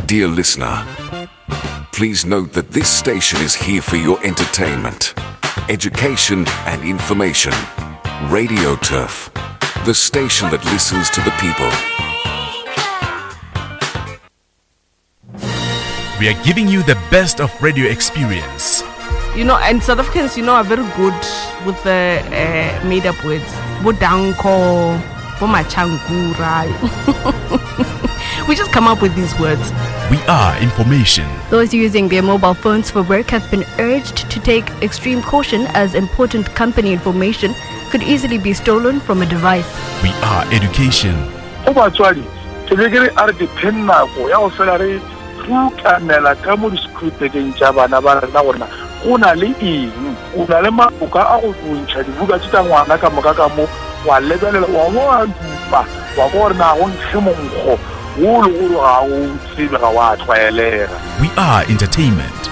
Dear listener, please note that this station is here for your entertainment, education, and information. Radio Turf, the station that listens to the people. We are giving you the best of radio experience. You know, and South Africans, you know, are very good with the uh, made up words. Bodanko, Bomachankura. we just come up with these words. We are information. Those using their mobile phones for work have been urged to take extreme caution as important company information could easily be stolen from a device. We are education. Go batswadi, ke be ke re a re dipheng nako ya go fela re rutamela ka mo disekhuritekeng tša bana ba rena gore na go na le eng. O na le maboka a go bontšha dibuka tše tša ngwana ka moka ka mo, wa lebelela, wa bo wa dupa, wa kwa gore na go nkge monkgo wo le gore ga o tsebe, ga wa tlwaelega. We are entertainment.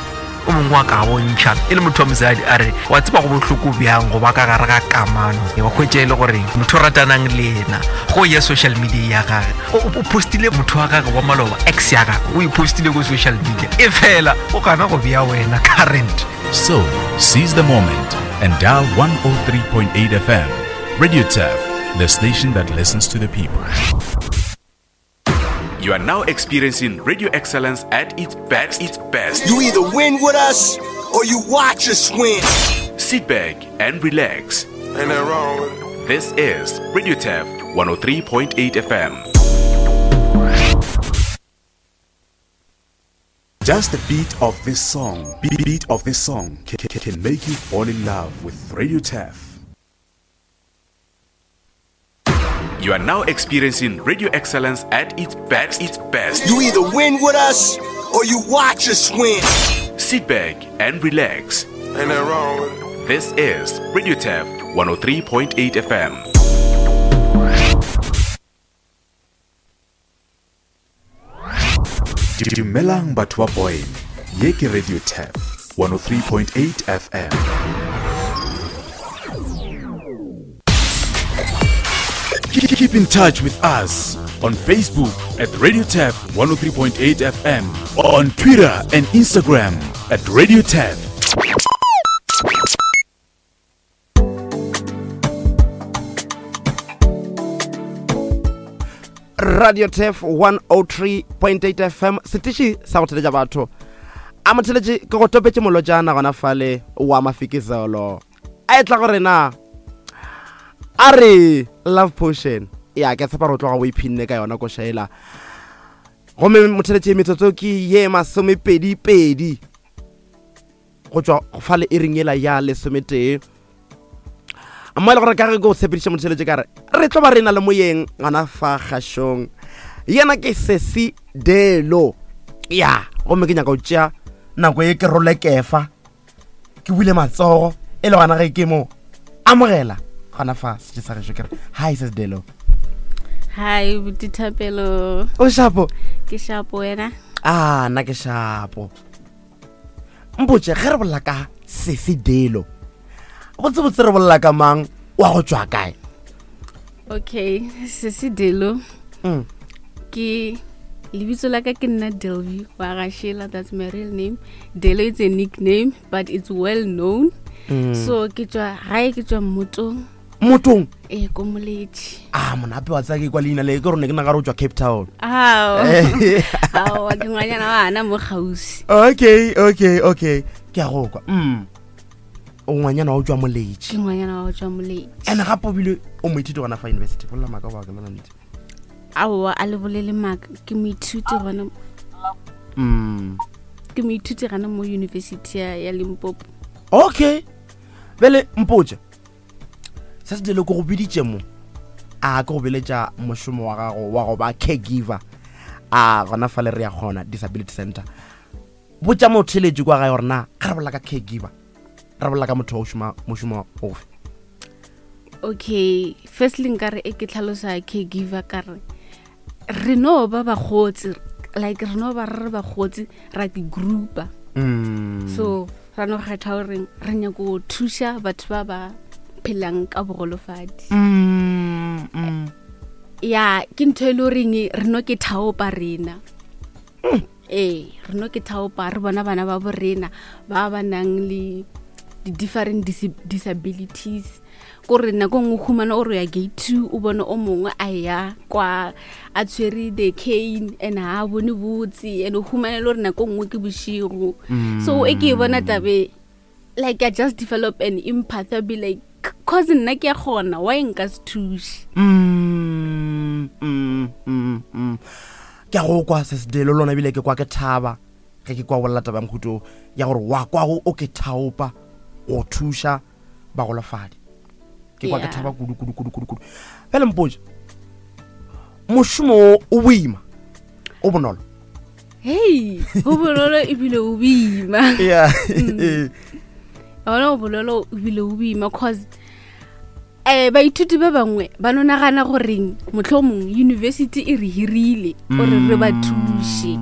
O mongwe wa ka bontšha e le motho wa mosadi a re wa tseba go bohloko bjang go ba ka gare ga kamano wa hwetša e le gore motho o ratanang le yena go ya social media ya gage o postile motho wa gage wa maloba ex ya gage o e postile ko social media e fela o gana go bea wena current. So, seize the moment and dial 103.8 FM. Radio Turf, the station that listens to the people. You are now experiencing radio excellence at its best. Its best. You either win with us or you watch us win. Sit back and relax. Ain't that wrong with it? This is Radio Turf 103.8 FM. Just the beat of this song, beat of this song can make you fall in love with Radio Turf. You are now experiencing radio excellence at its best. Its best. You either win with us or you watch us win. Sit back and relax. Ain't that wrong with it? This is Radio Turf 103.8 FM. Dumelang batho ba Boyne. Ye ke Radio Turf 103.8 FM. Keep in touch with us on Facebook at Radio Turf 103.8 FM, on Twitter and Instagram at Radio Turf. Radio Turf 103.8 FM setiši sa go theletša batho a motheletše ke go topetše molotšana gona fale wa mafikizolo a etla go rena a re love potion ya ke tshepa re o tloga o iphinne ka yona košaela gomme motheletše metsotso ke ye masomepedi-pedi go tšwa fa le iring yela ya lesometee mo e le gore ka ge ke o tshepediša motheletše ka re re tlo ba re na le moyeng gona fa kgašong yena ke sesi delo ya gomme ke nyaka go tšea nako e ke role kefa ke bule matsogo e le gona ge ke mo amogela gona fa setse sa gešo ke re hi sesi delo hi botithapelo o shapo ke shapo wena a nna ke shapo mpotše ge re bolela ka sese delo botsebotse re bolela ka mang wa go tšwa kae okay sese delo mm. ke lebitso la ka ke nna delview wa gashela that's my real name delo it's a nickname but it's well known mm. so ke tswa gae ke tswa mmotong motong ee ko moletši a monape wa tsaya ke kwa leina le ke rone ke nagare o tswa cape town aowa ke ngwanyana wa ana mo gausi okay okay okay ke a go kwa mm o ngwanyana wa o tswa moletši ke ngwanyana wa o tswa moletši and gape o bile o moithuti gona fa university bolela maaka wa ke lona nnete aowa a le bolele maaka ke moithuti gona mm ke moithuti gana mo university ya limpopo okay bele mpotse se se dilo ke go biditše mo a ke go beletša mošomo wa gago wa go ba caregiver a gona fale re ya kgona disability center botša motheletši kwa gae gore na ga re bolela ka caregiver re bolela ka motho wa go šoma mošomo ofe okay firstly nkare e ke tlhalosa caregiver ka re re no ba bagotsi like re no ba re re bagotsi ra ke groupa mm. so ra no kgetha goreng re nyako go thuša batho ba ba phelang ka bogolofadi mm, mm. Ya, ke ntho e le goreng re no ke thaopa rena. Ee, re no ke thaopa re bona bana ba borena ba ba nang le di-different disabilities. Kore nako nngwe o humana o re ya gate 2, o bone o mongwe a ya kwa a tshwere the cane and ha a bone botse, and o humane le gore nako nngwe ke bošigo. So e ke e bona tabe, like I just develop an empath. I'll be like, cause nna ke a kgona, why nka se thuše? Ke a go kwa se sedelo lona, ebile ke kwa ke thaba ge ke kwa bolela taba ya mohuto ya gore wa kwago o ke thaopa go thuša bagolofadi. Ke kwa ke thaba kudu kudu kudu kudu kudu. Bjale mpotse, mošomo o o boima o bonolo? Hei, go bonolo ebile o boima. Ona o bonolo ebile o boima, cause baithuti ba bangwe ba no nagana goreng mohlomong university e re hirile gore re ba thuše.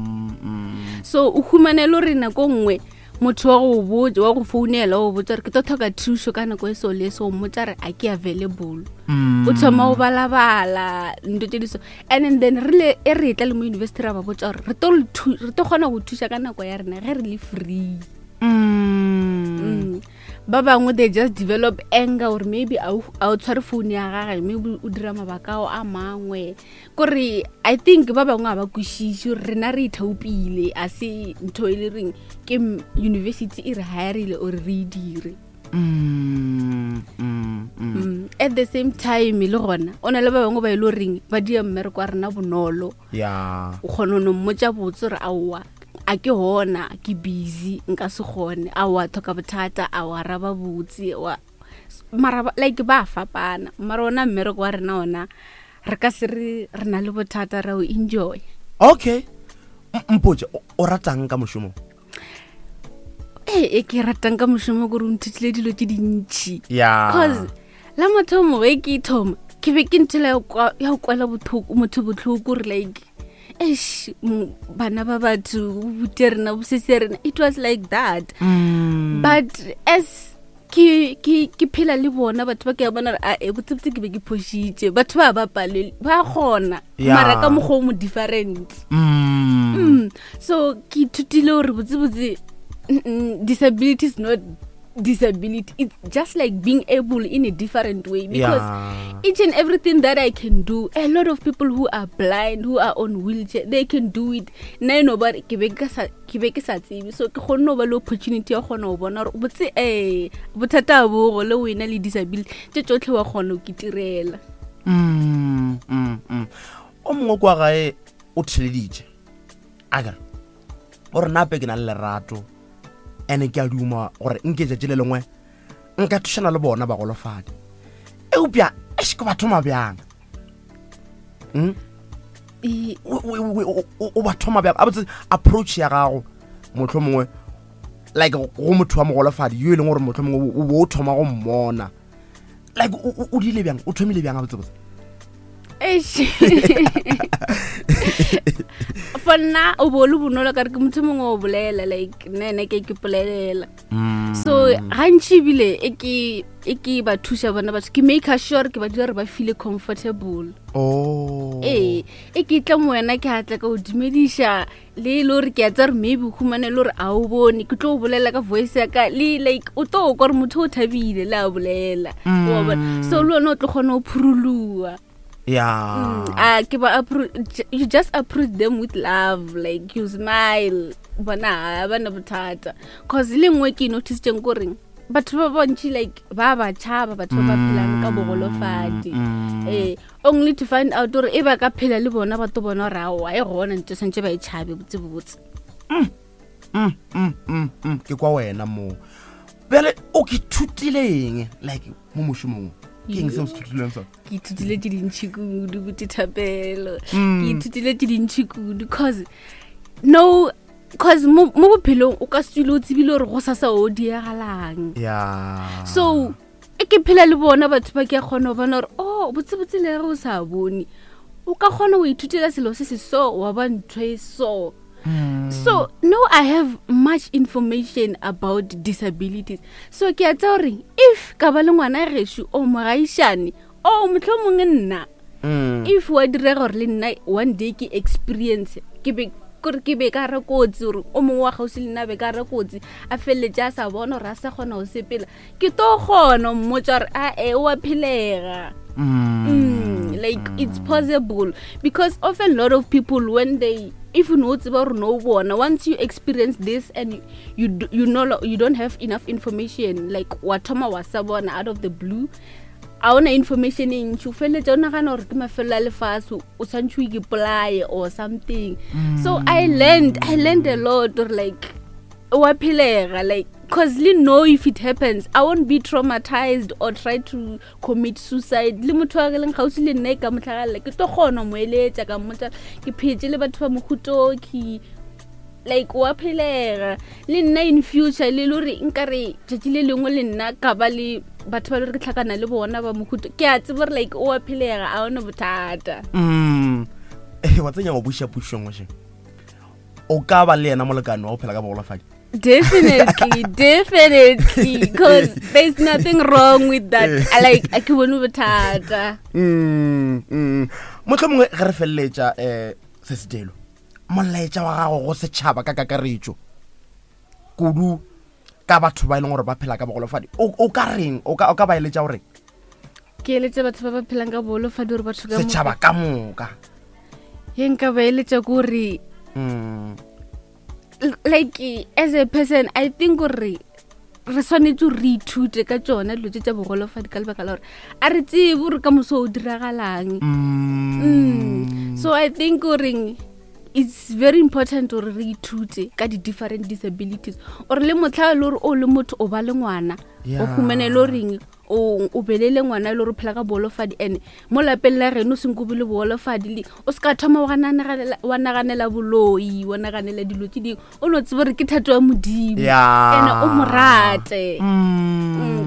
So o humane le gore nako nngwe motho wa go botsa, wa go founela, wa go botsa gore ke tlo tlhoka thušo ka nako e so le so, o mmotsa re a ke available. O thoma o balabala ntho tse di so, and then re le e re tla le mo university ra ba botsa gore re tlo le re tlo kgona go thuša ka nako ya rena ge re le free. Ba bangwe they just develop anger or maybe a o tshware phone ya gage, maybe o dira mabaka ao a mangwe. Kore I think ba bangwe ga ba kwešiše gore rena re ithaopile, a se ntho e le reng ke university e re hirile ore re e dire. At the same time le gona o na le ba bangwe ba e le goreng ba dia mmereko wa rena bonolo. O kgona no mmotsa botse gore aowa a ke gona, ke busy, nka se kgone, a wa tlhoka bothata, a wa araba botse wa mara like ba fapana. Mara ona mmereko wa rena ona re ka se re re na le bothata, ra o enjoy. Okay, mpotse, o ratang ka mošomo? Ee, e ke ratang ka mošomo kore o nthutile dilo tse dintšhi. Cause la mathomo ge ke thoma ke be ke nthela ya go kwela botlhoko, motho botlhoko, gore like eish, bana ba batho bute rena bosese rena, it was like that. But as ke phela le bona batho ba, ke a bona gore a e botsebotse ke be ke phošitše, batho ba ba palele ba kgona. Mara ka mokgwa o mo different. So ke ithutile gore botsebotse, disability is not disability, it's just like being able in a different way, because each and everything that I can do, a lot of people who are blind, who are on wheelchair, they can do it. Nna e no ba ke be ke sa, ke be ke sa tsebe, so ke kgonne go ba le opportunity ya kgona go bona gore botse bothata bo go le wena le disability tše tsotlhe wa kgona go kitirela. O mongwe kwa gae o theleditše a kere gore nape ke na le lerato ene ke a duma gore nke tšatši le lengwe nka thušana le bona bagolofadi, eupša eš ke ba thoma bjang? O ba thoma bjang? A botse approach ya gago motlho mongwe like go motho wa mogolofadi yo e leng gore motlho mongwe o bo o thoma go mmona, like o dile bjang, o thomile bjang a botsebotse? Eish. For nna o bo le bonolo ka re ke motho mongwe o bolela, like nna ene ke polelela. So gantši ebile e ke ba thuša bona batho, ke make sure ke ba dira gore ba feel comfortable. Ee, e ke tla mo wena ke atla ka o dumediša le e le gore ke a tsa gore maybe o humane le gore a o bone, ke tlo o bolela ka voice ya ka le like o tlo kwa gore motho o thabile le a bolela. Wa bona? So le wena o tlo kgona go phuruluwa. A ke ba you just approach them with love, like you smile, bona ha ba na bothata. Cause le nngwe ke e noticetseng koreng batho ba bantši like ba ba tšhaba batho ba ba phelang ka bogolofadi. Only to find out gore e ba ka phela le bona ba to bona gore aowa e gona ntho santse ba e tšhabe botsebotse. Ke kwa wena moo. Bjale o ke thutile eng like mo mošomong? Ke eng se o se thutileng sona? Ke ithutile tse dintšhi kudu, bote Thapelo. Ke ithutile tse dintšhi kudu, cause no, cause mo bophelong o ka se tswile o tsebile gore go sasa o diagalang. So e ke phela le bona batho ba, ke a kgona go bona gore oh botsebotse le ge o sa bone o ka kgona go ithutela selo se se so wa ba ntho e so. So now I have much information about disabilities, so ke a tsa gore if ka ba le ngwana gešo o mogaišane o mohlomongwe nna If wa direga gore le nna one day ke experience ke be kore ke be ka re kotsi gore o mongwe wa gausi le nna be ka re kotsi a feleletse a sa bona gore a sa kgona go sepela ke to kgona mmotsa gore a e wa phelega. Like it's possible because often a lot of people when they if no tseba gore no bona, once you experience this and you know you don't have enough information, like wa thoma wa sa bona out of the blue, a ona information e ntši, o feleletša o nagana gore ke mafelo a lefase, o tshwanetse o ikipolaye or something. So I learned a lot or like wa phelega, like cause le know if it happens I won't be traumatized or try to commit suicide. Le motho wa ke leng gausi le nna e ka motlhagalela, ke tlo kgona mo eletša ka mmotsa ke phetse le batho ba mohutoki, like wa phelega. Le nna in future le le gore nkare tšatši le lengwe le nna ka ba le batho ba le gore ke tlhakana le bona ba mohuto, ke a tseba gore like o wa phelega, a ona bothata. Wa tsenya go buša pušo nngwe še, o ka ba le yena molekane wa go phela ka bogolofadi? Definitely, definitely, because there's nothing wrong with that. I like a ke bone bothata. Motlho mongwe ge re feleletša, se setelo molaetša wa gago go setšhaba ka kakaretšo, kudu ka batho ba e leng gore ba phela ka bogolofadi, o ka reng? O ka ba eletša goreng? Ke eletša batho ba ba phelang ka bogolofadi gore batho ka setšhaba ka moka. Ye nka ba eletša ke gore like as a person I think gore re swanetse gore re ithute ka tsona dilo tse tsa bogolofadi ka lebaka la gore a re tsebe gore ka moso o diragalang. So I think goreng it's very important gore re ithute ka di-different disabilities, or le motlha e le gore o le motho o ba le ngwana, o humane le goreng o belele ngwana e le gore o phela ka boholofadi, and mo lapeng la geno o senko be le boholofadi, le o se ka thoma wa naganela boloi, wa naganela dilo tse dingwe, o no tsebe gore ke thato ya Modimo. And o mo rate.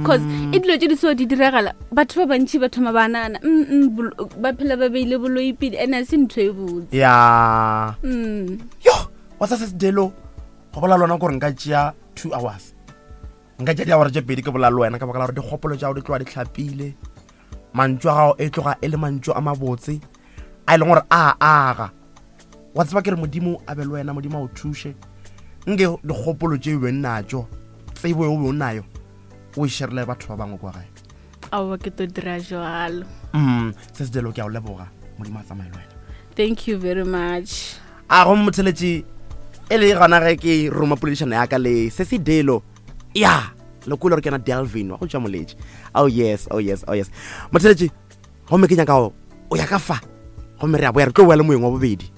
Cause e dilo tse di so di diragala, batho ba bantšhi ba thoma ba nagana ba phela ba beile boloi pele, and a se ntho e botse. Yo, wa tsa se sedelo go bola lona gore nka tšea 2 hours, nka tšea diawara tše 2 ke bola le wena, ka baka la gore dikgopolo tša gago di tloga di tlhapile, mantšu a gago e tloga e le mantšu a mabotse a e leng gore a aga. Wa tseba ke re Modimo a be le wena, Modimo a o thuše, nke dikgopolo tše o beng natso, tsebo e o be o nayo, o e sharile batho ba bangwe kwa gae. Aowa, ke to dira jalo. Se sedelo, ke a o leboga, Modimo a tsamaye le wena. Thank you very much. A go motheletše e le gona ge ke roma poledišano ya ka le se sedelo ya lekolo gore ke yena Delvin wa go tšwa Moletše. Oh yes, oh yes, oh yes. Motheletše, gomme ke nyaka go o ya ka fa, gomme re a boya, re tlo boya le moeng wa bobedi.